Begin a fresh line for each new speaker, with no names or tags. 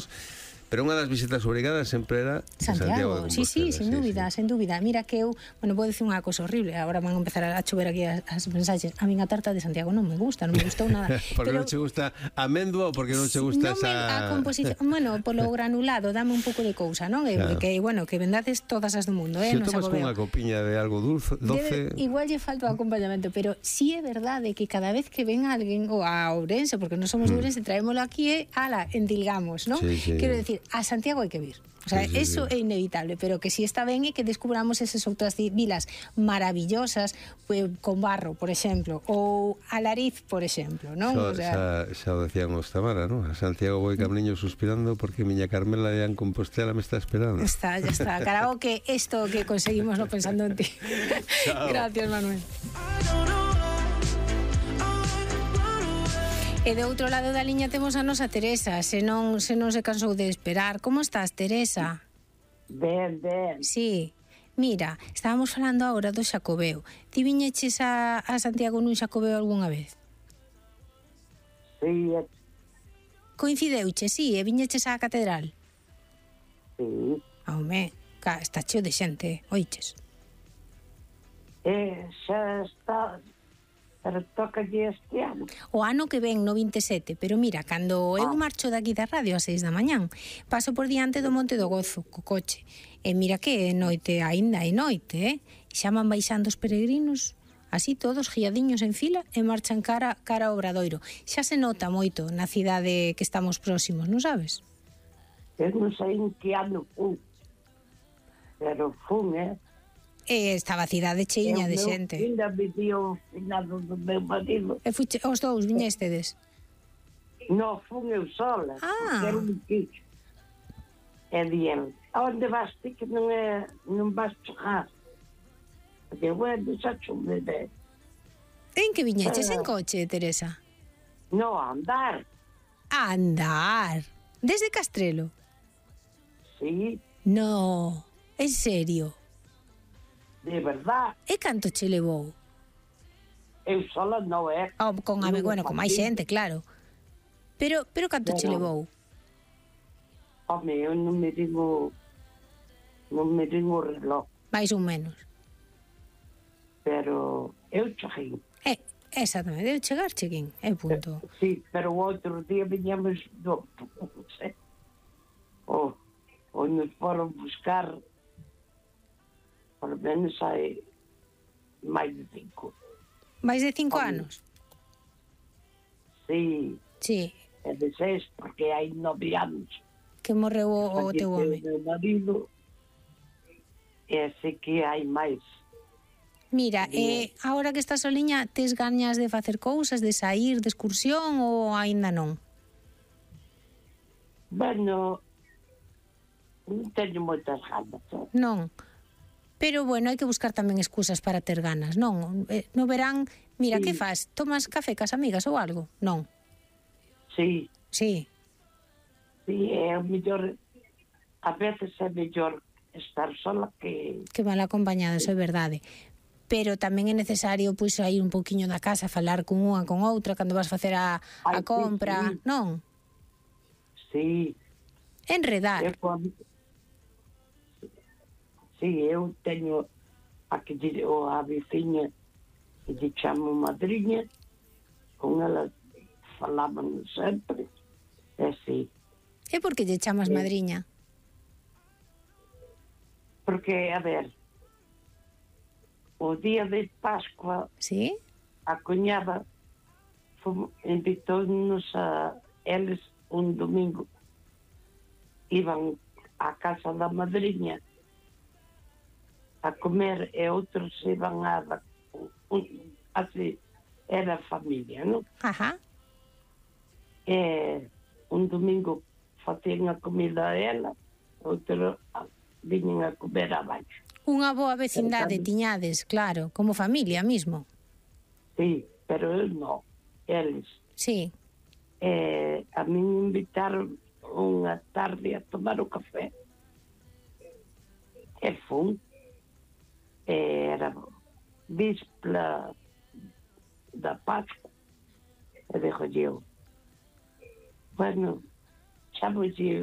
todos, pero unha das visitas obrigadas sempre era Santiago de
Compostela. Sí, sen dúbida,
sí.
sen dúbida. Mira que eu, vou dicir unha cosa horrible, agora van a empezar a chover aquí as mensaxes. A min a tarta de Santiago non me gusta, non me gustou nada.
Porque non che gusta a amendua ou porque non che gusta
a composición, polo granulado, dame un pouco de cousa, non?
Claro.
Que vendades todas as do mundo,
Se
non
tomas con unha copiña de algo doce...
Igual lle falta o acompañamento, pero sí é verdade que cada vez que ven alguén, ou a Ourense, porque non somos de Ourense, traémolo aquí endilgamos, non?
Sí.
Quero decir, a Santiago hai que vir. O sea, eso é inevitable, pero que si está ben é que descubramos esas outras vilas maravillosas, con Barro, por exemplo, ou Alariz, por exemplo, non?
Xa o decían os Tamara, non? A Santiago vou camiño suspirando porque miña Carmela ya en Compostela me está esperando.
Ya está, karaoke, esto que conseguimos no pensando en ti. Gracias, Manuel. E do outro lado da liña temos a nosa Teresa, se non se cansou de esperar. Como estás, Teresa?
Ben.
Sí. Mira, estábamos falando agora do Xacobeo. Ti viñeches a Santiago nun Xacobeo algunha vez?
Sí.
Coincideuche, sí, e viñeches á catedral?
Sí.
Home, está cheo de xente, oiches?
Xa está... Pero tocalle este ano.
O ano que ven, no 27, pero mira, cando eu marcho daqui da radio a 6 da mañán, paso por diante do Monte do Gozo, co coche. E mira que noite, aínda é noite, xa van baixando os peregrinos, así todos guiadiños en fila, e marchan cara ao Obradoiro. Xa se nota moito na cidade que estamos próximos, non sabes?
Eu non sei en que ano fun, pero fun,
E estaba a cidade cheiña de xente.
Eu ainda viví o finado do meu marido.
E fuche, os dous viñestedes?
Non, fun eu sola. Porque era un quixo. E dien, onde vas ti que non vas chegar? Porque, bueno, xa chumbe de...
En que viñeches en coche, Teresa?
Non, a andar.
A andar? Desde Castrelo?
Sí.
No, en serio?
De verdad.
E canto che levou?
Eu sola non é.
Con máis xente, claro. Pero canto che levou?
Home, eu non me digo o reloj.
Mais ou menos.
Pero eu cheguei.
Exactamente, eu chegar cheguín, é punto.
Sí, pero o outro día viñamos ou nos foron buscar por menos hai máis de 5.
Mais de 5 anos?
Sí.
Sí.
É de 6, porque hai 9 anos.
Que morreu o teu home.
O meu marido, e así que hai máis.
Mira, agora que estás soliña, tes gañas de facer cousas, de sair de excursión ou aínda non?
Bueno, non teño moitas ganas.
Non. Pero, bueno, hai que buscar tamén excusas para ter ganas, non? No verán, mira, que faz? Tomas café cas amigas ou algo? Non?
Sí.
Sí.
Sí, é o mellor, a veces é mellor estar sola que
mal acompañada, eso é verdade. Pero tamén é necesario, pois, ir un pouquiño da casa, falar con unha, con outra, cando vas facer a compra,
sí.
Non?
Sí.
Enredar.
Sí, eu teño a veciña que lle chamo madriña, con ela falaban sempre, sí.
E por que lle chamas madriña?
Porque, a ver, o día de Pascua,
sí?
A cuñada invitou-nos a eles un domingo. Iban á casa da madriña a comer e outros iban así, era familia, non?
Ajá.
E un domingo facían a comida a ela, outro viñen a comer abaixo.
Unha boa vecindade tiñades, claro, como familia mismo.
Sí, pero eu non, eles.
Sí.
A min invitaron unha tarde a tomar o café. E fun. Era víspera da Pascua. E dixo eu, bueno, xa vos